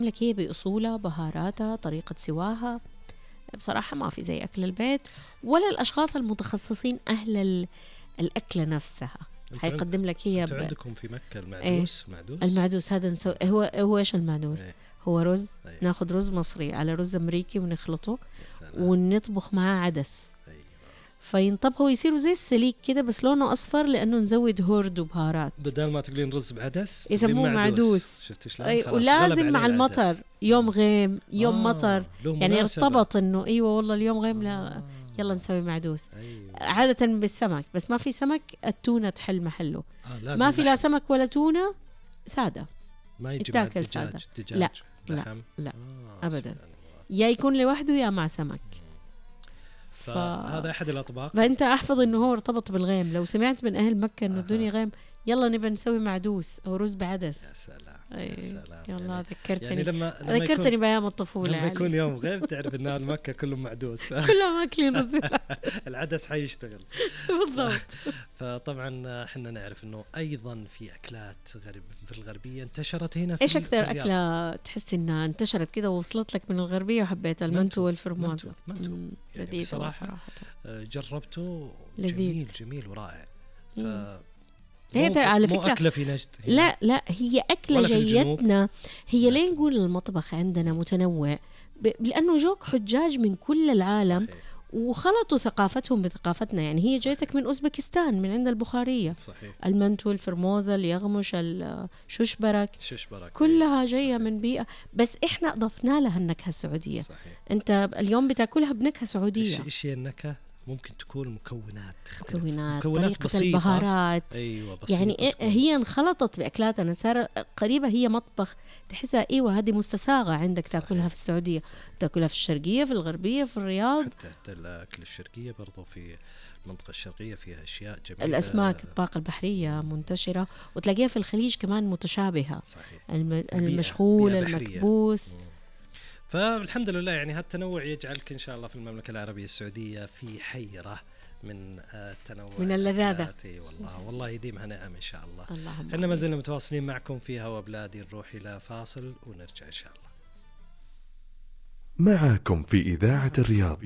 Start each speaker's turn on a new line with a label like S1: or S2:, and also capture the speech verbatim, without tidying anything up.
S1: لك هي بأصولها، بهاراتها، طريقة سواها. بصراحة ما في زي أكل البيت ولا الأشخاص المتخصصين أهل ال- الأكلة نفسها. حيقدم لك هي
S2: ب... عندكم في مكة المعدوس.
S1: ايه
S2: المعدوس
S1: المعدوس هذا نسو... هو هو ايش المعدوس؟
S2: ايه.
S1: هو رز.
S2: ايه.
S1: ناخذ رز مصري على رز أمريكي ونخلطه ونطبخ معاه عدس.
S2: ايه.
S1: فينطبخوا ويصيروا زي السليك كده بس لونه أصفر لأنه نزود هورد وبهارات.
S2: بدل ما تقولين رز بعدس
S1: يسموه معدوس.
S2: شفت شلون؟
S1: أي ولازم مع المطر يوم غيم يوم آه مطر يعني ارتبط إنه أيوة والله اليوم غيم لا آه يلا نسوي معدوس. أيوة. عادة بالسمك بس ما في سمك التونة تحل محله. آه ما في لا سمك ولا تونة سادة
S2: ما يجي مع الدجاج. دجاج
S1: لا لا, لا آه أبدا يا يكون لوحده يا مع سمك.
S2: ف... فهذا أحد الأطباق.
S1: فأنت أحفظ إنه هو ارتبط بالغيم. لو سمعت من أهل مكة إنه الدنيا غيم يلا نبى نسوي معدوس أو رز بعدس.
S2: يا سلام
S1: أي.
S2: يا سلام
S1: يلا يعني ذكرتني
S2: يعني لما, لما
S1: ذكرتني بأيام الطفولة.
S2: لما
S1: يعني
S2: يكون يوم غيب تعرف إن أهل مكة كلهم معدوس.
S1: كلهم أكلين رز.
S2: العدس حيشتغل.
S1: بالضبط.
S2: فطبعا إحنا نعرف إنه أيضا في أكلات غرب في الغربية انتشرت هنا. في
S1: إيش أكثر أكلة تحس إنها انتشرت كده ووصلت لك من الغربية وحبيتها؟ المنتو والفرموزة.
S2: منتو يعني بصراحة جربته جميل جميل ورائع. ف
S1: هي على فكرة
S2: مو أكلة في نجد.
S1: لا لا هي أكلة جيتنا. هي ليه نقول المطبخ عندنا متنوع لأنه جوك حجاج من كل العالم. صحيح. وخلطوا ثقافتهم بثقافتنا. يعني هي جايتك من أوزبكستان من عند البخارية.
S2: صحيح.
S1: المنتو الفرموزة اليغمش الششبرك
S2: ششبرك
S1: كلها جاية من بيئة بس إحنا أضفنا لها النكهة السعودية.
S2: صحيح. أنت
S1: اليوم بتاكلها بنكهة سعودية.
S2: إيش هي النكهة؟ ممكن تكون مكونات تختلف.
S1: مكونات,
S2: مكونات
S1: طريقة
S2: بسيطة.
S1: البهارات.
S2: أيوة بسيطة.
S1: يعني تكون. هي انخلطت بأكلاتنا صار قريبة. هي مطبخ تحسها أيوة هذه مستساغة عندك. صحيح. تأكلها في السعودية. صحيح. تأكلها في الشرقية في الغربية في الرياض.
S2: حتى, حتى الأكل الشرقية برضو في المنطقة الشرقية فيها أشياء جميلة.
S1: الأسماك الطاقة البحرية منتشرة وتلاقيها في الخليج كمان متشابهة.
S2: صحيح.
S1: الم... المشغول المكبوس. مم.
S2: فالحمد لله يعني هالتنوع يجعلك إن شاء الله في المملكة العربية السعودية في حيرة من التنوع
S1: من اللذاذة.
S2: والله والله يديمها نعم إن شاء الله.
S1: إحنا
S2: ما زلنا متواصلين معكم في هوا بلادي. نروح إلى فاصل ونرجع إن شاء الله
S3: معكم في إذاعة الرياض.